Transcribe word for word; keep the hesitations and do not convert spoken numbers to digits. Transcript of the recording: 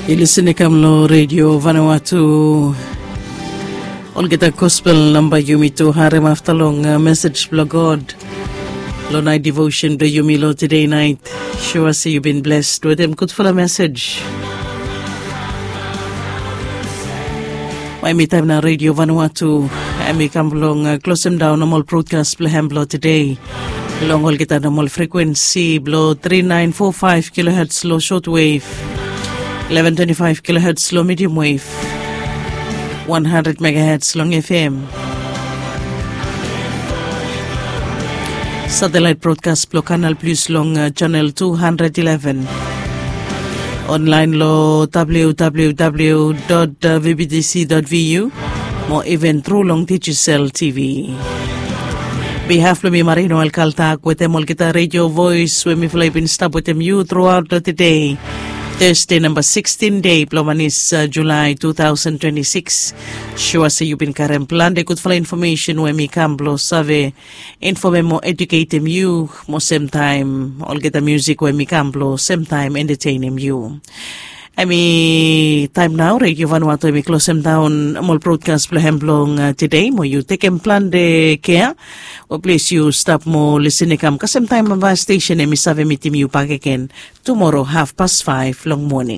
Yu lisin i kam long redio Vanuatu. Olgeta gospel namba yumi tu harim afta long mesej blong God long nait devotion blong yumi long tede nait. Sua se yu bin blesed wetem gudfala mesej. Mai mi taim na redio Vanuatu em i kam blong klosim daun nomal brodkas blong hem blong tede. Long olgeta nomal frekuensi blong three nine four five kilohertz long shortwave, eleven twenty-five kilohertz long medium wave, one hundred megahertz long F M. Satellite broadcast blong Kanal Plus long uh, channel two hundred eleven. Online long W W W dot V B T C dot V U mo even tru long Digicel T V. Behalf blong mi Marino Alkaltak wetem olgeta radio voice we mifala i bin stap wetem yu throughout the day. Thursday number sixteen day blong manis uh, July two thousand twenty-six. Sua se yu bin karem plante gudfala information we mi kam blong save informem mo educatem yu mo semtaim olgeta musik we mi kam blong semtaim entertainim yu. Em i taim nau redio Vanuatu em i klosem daun mol brodkas blong hem blong uh, tede mo yu tekem plante kea. O plis yu stap mo lisin i kam kasem taim ava stesen em i save mitim yu bakegen tumoro haf pas faiv long moning.